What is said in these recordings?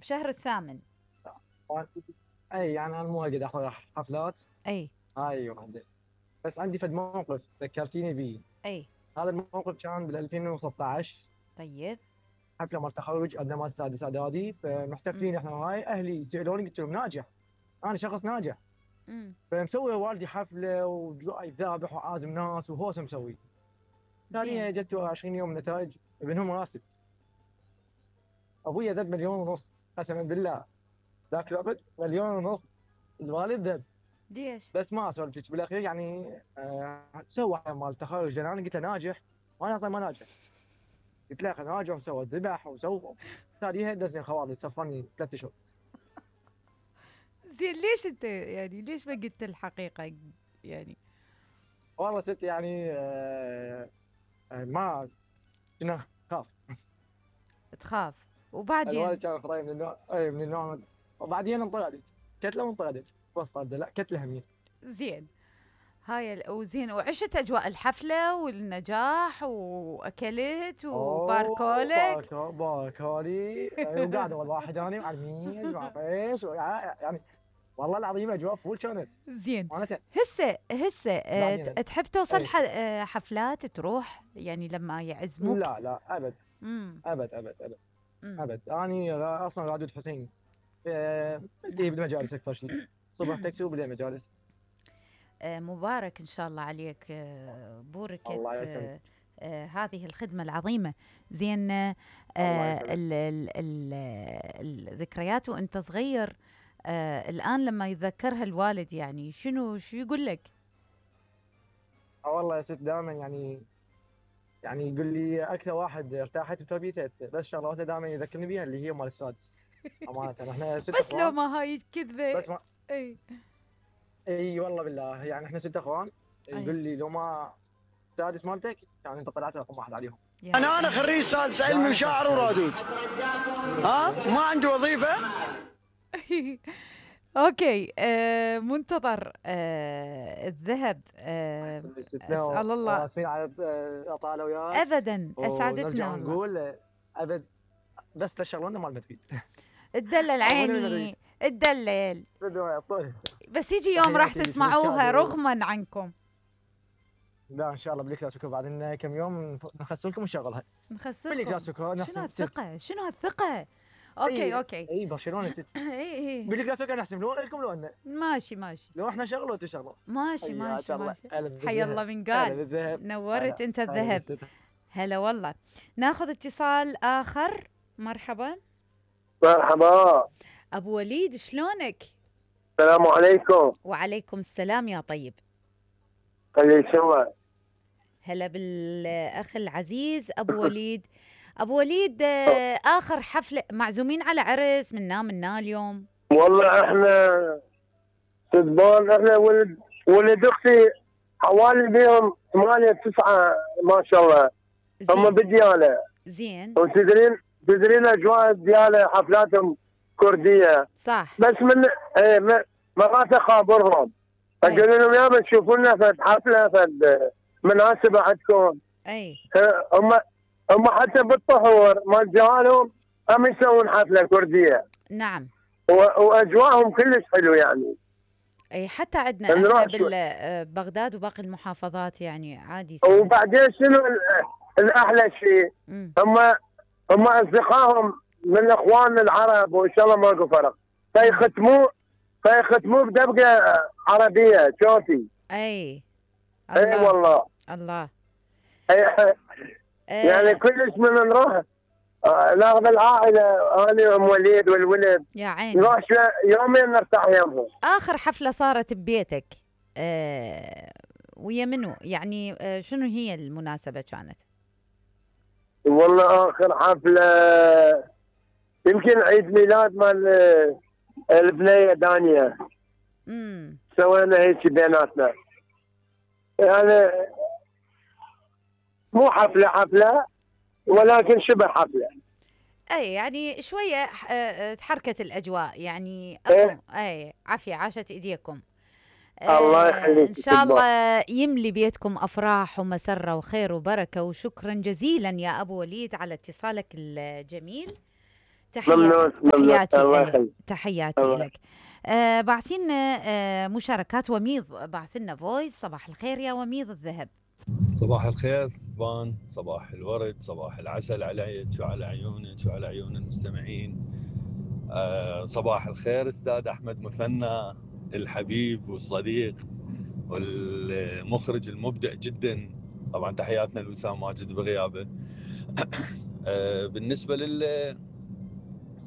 بشهر الثامن. اي يعني انا مو قاعد احضر حفلات. اي. هاي وحده. بس عندي فد موقف ذكرتيني بيه. اي. هذا الموقف كان بال 2016. طيب. حفله مال تخرج عندنا مال سادس اعدادي، امم. فمحتفلين احنا وهاي اهلي سالوني قلت لهم ناجح، انا شخص ناجح. فمسوي والدي حفله وجاي ذابح وعازم ناس وهوس مسوي. ثانية جت 20 يوم نتائج ابنهم راسب. ابويا ذب مليون ونص قسما بالله. ذاك الوقت مليون ونص الوالد ذب. ليش؟ بس ما سولفتك بالاخير يعني سوى مال تخرج لان انا قلت له ناجح وانا اصلا ما ناجح. قلت له ناجح وسوى ذبح وسوى ثانيها دزني خوالي سفرني 3 اشهر. زين ليش انت يعني ليش ما قلت الحقيقة يعني؟ والله ست يعني ما كنا خاف. تخاف وبعدين؟ الوالد كان خطاي من النوع اي من النوع. وبعدين انطردت كتله وانطردت بس طرده لا كتله همين. زين. وزين وعشت اجواء الحفلة والنجاح واكلت اوه وباركولك. باركولي وقاعد اول واحد انا على الميز مع فيش يعني والله العظيم اجواء فول كانت. زين. وانا هسه بعدين تحب توصل اي حفلات تروح يعني لما يعزموك؟ لا ابد امم. ابد ابد ابد امم. ابد. انا اصلا رادود حسين اللي بالمجالس اكثر شيء. صبح تاكسي وبالليل مجالس. مبارك ان شاء الله عليك، بوركت الله يسلمك. هذه الخدمة العظيمة. زين. الله يسلمك. الذكريات وانت صغير، الآن لما يتذكرها الوالد يعني شو يقول لك؟ والله يا ست دائما يعني يقول لي اكثر واحد ارتاحت بتربيته بس شغله واحده دائما يذكرني بيها اللي هي مال السادس. امانه احنا ست بس لو اخوان. ما هاي كذبة. بس ما اي. اي والله بالله يعني احنا 6 اخوان. اي. يقول لي لو ما السادس مالتك يعني انت طلعت رقم واحد عليهم. انا خريج سادس علمي دائما وشاعر ورادود. ها ما عندي وظيفه. اوكي. منتظر الذهب. اسال الله. اسفين على الاطاله وياك. ابدا اسعدتنا ونرجع والله. نقول ابد بس لشغلنا مال مدريد. الدلل عيني الدلل. بس يجي يوم راح تحياتي تسمعوها للكادو. رغما عنكم. لا ان شاء الله بالكلاسيكو بعد كم يوم نخسركم ونشغلها. نخسركم. بالكلاسيكو شنو هالثقة؟ شنو هالثقة؟ اوكي اوكي. اي برشلونه ست. اي. بالكلاسيكو نحسب لو لكم لو انه ماشي لو احنا شغله وانتم شغله. ماشي حيا الله. حي الله من قال. نورت انت الذهب. هلا والله. ناخذ اتصال اخر. مرحبا. مرحبا. ابو وليد شلونك؟ السلام عليكم. وعليكم السلام يا طيب. خلي سوا. هلا بالاخ العزيز ابو وليد. ابو وليد، اخر حفله معزومين على عرس منا اليوم. والله احنا صدبان. احنا ولد اختي حوالي بيهم 8 9 ما شاء الله. هم بدياله. زين. وتدرين اجواء دياله حفلاتهم كرديه. صح. بس من مرات اخابرهم اقول لهم يابا تشوفوا لنا فد حفله فد مناسبه عندكم. اي. هم حتى بالطهور مال جهالهم هم يسوون حفله كرديه. نعم. واجواءهم كلش حلو يعني. اي حتى عندنا احنا ببغداد وباقي المحافظات يعني عادي. وبعدين شنو الاحلى شيء؟ هم اصدقائهم من اخواننا العرب وان شاء الله ماكو فرق. فيختموه بدبقه عربيه شوفي. اي والله. الله. يعني كلش من نروح ناخذ العائله انا ام وليد والولد. يا عيني. نروح يومين نرتاح يمهم. اخر حفله صارت ببيتك ويا منو يعني؟ شنو هي المناسبه كانت؟ والله اخر حفله يمكن عيد ميلاد مال البنيه دانيا. سوينا هيك بيناتنا يعني مو حفله ولكن شبه حفله. اي يعني شويه تحركت الاجواء يعني. اي عافيه عاشت ايديكم. الله يخليك. ان شاء الله يملي بيتكم افراح ومسره وخير وبركه. وشكرا جزيلا يا ابو وليد على اتصالك الجميل. ممنون تحياتي الله لك، يخليك. تحياتي الله. لك. بعثينا مشاركات. وميض بعث لنا فويس. صباح الخير يا وميض الذهب. صباح الخير ستبان، صباح الورد، صباح العسل عليك وعلى عيونك وعلى عيون المستمعين. صباح الخير استاذ احمد مثنى الحبيب والصديق والمخرج المبدع جدا. طبعا تحياتنا لوسام ماجد بغيابه. بالنسبه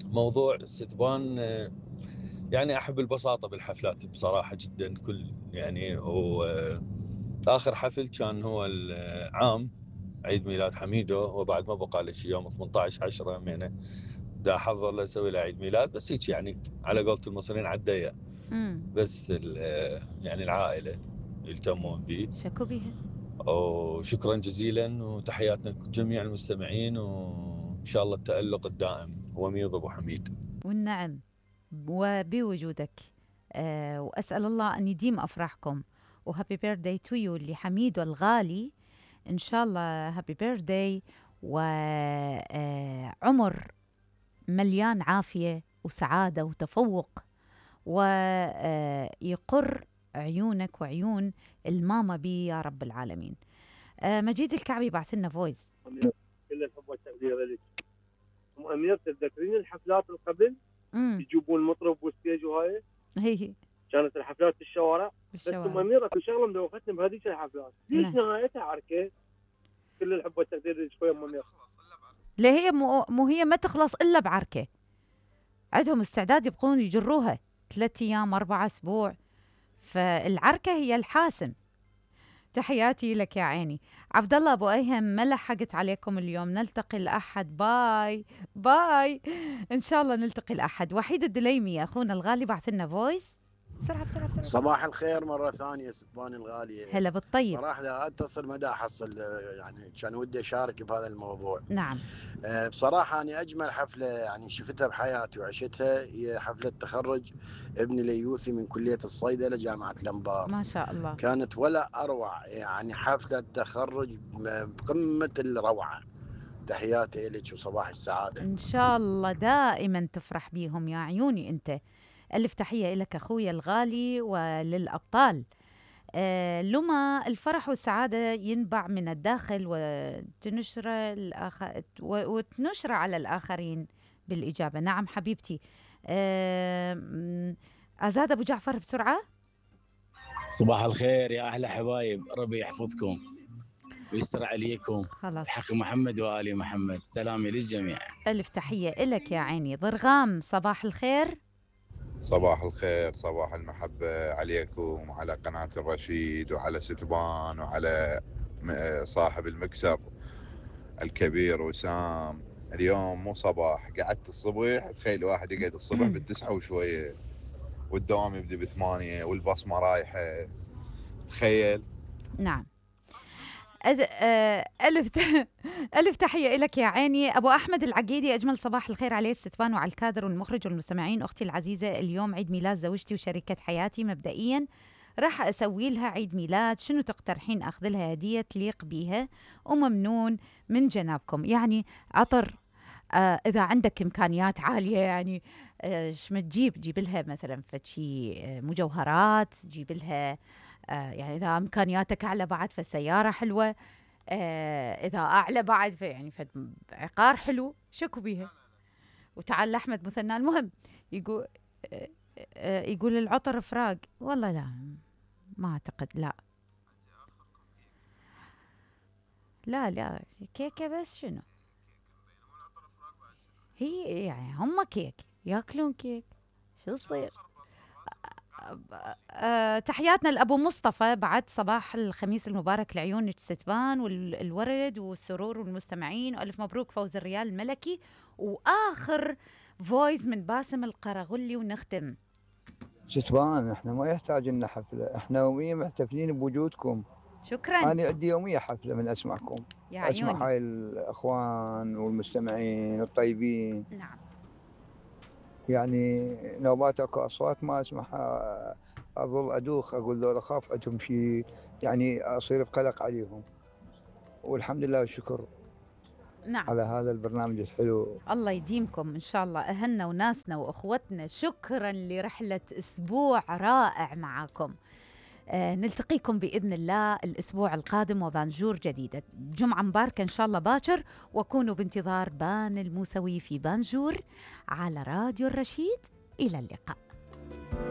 للموضوع ستبان، يعني احب البساطه بالحفلات بصراحه جدا. كل يعني اخر حفل كان هو العام عيد ميلاد حميدو، وبعد ما بقى له شي يوم 18/10 همينه دا احضر له اسوي له عيد ميلاد، بس هيك يعني على قولة المصريين على الضيق. بس يعني العائله يلتمون بي. شكو بيها. وشكرا جزيلا وتحياتنا لجميع المستمعين، وان شاء الله التألق الدائم. وميض ابو حميد. والنعم وبوجودك. واسال الله ان يديم افراحكم. وهابي بيرثداي تو يو لحميدو الغالي. ان شاء الله هابي بيرثداي وعمر مليان عافيه وسعاده وتفوق، ويقر عيونك وعيون الماما بي يا رب العالمين. مجيد الكعبي بعث لنا فويس. كل الحب والتقدير لك ام امير. تتذكرين الحفلات اللي قبل يجيبون المطرب والستيج وهاي؟ هي كانت الحفلات في الشوارع. بس بالشوارع. ام امير اكو شغله مدوختني بهذيك الحفلات، ليش نهايتها عركه؟ كل الحب والتقدير لك شويه ام امير. لا هي مو هي ما تخلص الا بعركه. عندهم استعداد يبقون يجروها 3 أيام 4 أسبوع. فالعركه هي الحاسم. تحياتي لك يا عيني. عبد الله ابو ايهم، ما لحقت عليكم اليوم. نلتقي الاحد. باي باي. ان شاء الله نلتقي الاحد. وحيد الدليمي اخونا الغالي بعث لنا فويس. بسرعه بسرعه بسرعه. صباح الخير مرة ثانية ستبان الغالية. هلا بالطيب. صراحة لا أتصل ما دا أحصل، يعني كان ودي أشارك بهذا الموضوع. نعم. بصراحة أنا أجمل حفلة يعني شفتها بحياتي وعشتها هي حفلة تخرج ابني ليوثي من كلية الصيدلة جامعة الأنبار. ما شاء الله. كانت ولا أروع، يعني حفلة تخرج بقمة الروعة. تحياتي لك وصباح السعادة. إن شاء الله دائما تفرح بيهم يا عيوني أنت. ألف تحية لك أخويا الغالي وللأبطال. لما الفرح والسعادة ينبع من الداخل وتنشر على الآخرين بالإجابة. نعم حبيبتي. أزاد أبو جعفر بسرعة. صباح الخير يا أحلى حبايب، ربي يحفظكم ويستر عليكم. خلاص. حق محمد وآل محمد. سلامي للجميع. ألف تحية لك يا عيني. ضرغام صباح الخير. صباح الخير، صباح المحبة عليكم وعلى قناة الرشيد وعلى ستبان وعلى صاحب المكسر الكبير وسام. اليوم مو صباح، قعدت الصبح. تخيل واحد يقعد الصبح ب9 وشوية والدوام يبدي ب8 والبصمة رايحة. تخيل. نعم. ألف تحية لك يا عيني. أبو أحمد العقيدي، أجمل صباح الخير عليك ستبان وعلى الكادر والمخرج والمستمعين. أختي العزيزة اليوم عيد ميلاد زوجتي وشريكة حياتي. مبدئيا راح أسوي لها عيد ميلاد. شنو تقترحين أخذ لها هدية تليق بيها؟ وممنون من جنابكم. يعني عطر، إذا عندك إمكانيات عالية يعني شو ما جيب لها مثلا فشي مجوهرات. جيب لها يعني إذا إمكانياتك أعلى بعد فسيارة حلوة. إذا أعلى بعد يعني عقار حلو. شكو بيها. وتعال لأحمد مثنى. المهم يقول العطر فراق. والله لا، ما أعتقد. لا كيكة بس. شنو هي يعني هم كيك ياكلون كيك. شو يصير. تحياتنا لأبو مصطفى بعد. صباح الخميس المبارك لعيون ستبان والورد والسرور والمستمعين. وألف مبروك فوز الريال الملكي. وآخر فويس من باسم القرغلي ونختم. ستبان احنا ما يحتاج لنا حفلة، احنا يوميا محتفلين بوجودكم. شكرا. أنا عندي يوميا حفلة من أسمعكم. يا أسمع هاي الأخوان والمستمعين الطيبين. نعم. يعني نوبات اكو اصوات ما اسمعها اظل ادوخ. اقول ذولا اخاف عندهم شيء، يعني اصير بقلق عليهم. والحمد لله والشكر نعم. على هذا البرنامج الحلو. الله يديمكم إن شاء الله أهلنا وناسنا وأخوتنا. شكرا لرحلة أسبوع رائع معكم. نلتقيكم بإذن الله الأسبوع القادم وبانجور جديدة. جمعة مباركة إن شاء الله باكر، وكونوا بانتظار بان الموسوي في بانجور على راديو الرشيد. إلى اللقاء.